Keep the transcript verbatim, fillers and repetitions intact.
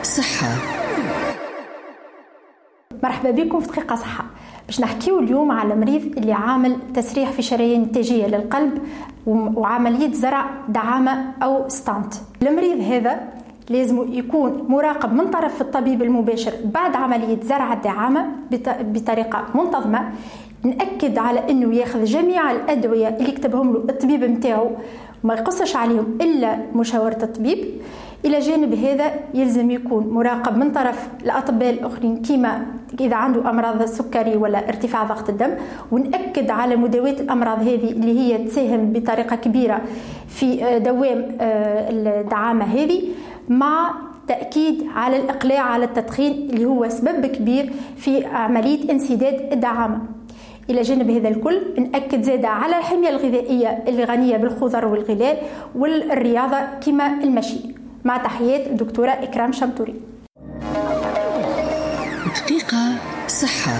صحة. مرحبا بكم في دقيقة صحة. باش نحكيو اليوم على مريض اللي عامل تسريح في شرايين التاجية للقلب وعملية زرع دعامة أو stent. المريض هذا لازم يكون مراقب من طرف الطبيب المباشر بعد عملية زرع الدعامة بطريقة منتظمة. نأكد على أنه ياخذ جميع الأدوية اللي كتبهم له الطبيب متاعه، ما يقصش عليهم إلا مشاورة الطبيب. إلى جانب هذا يلزم يكون مراقب من طرف الأطباء الآخرين كما إذا عنده أمراض السكري ولا ارتفاع ضغط الدم، ونأكد على مداواة الأمراض هذه اللي هي تساهم بطريقة كبيرة في دوام الدعامة هذه، مع تأكيد على الإقلاع على التدخين اللي هو سبب كبير في عملية انسداد الدعامة. إلى جانب هذا الكل نأكد زادة على الحمية الغذائية اللي غنية بالخضر والغلال والرياضة كما المشي. مع تحيات الدكتورة إكرام شمتوري. دقيقة صحة.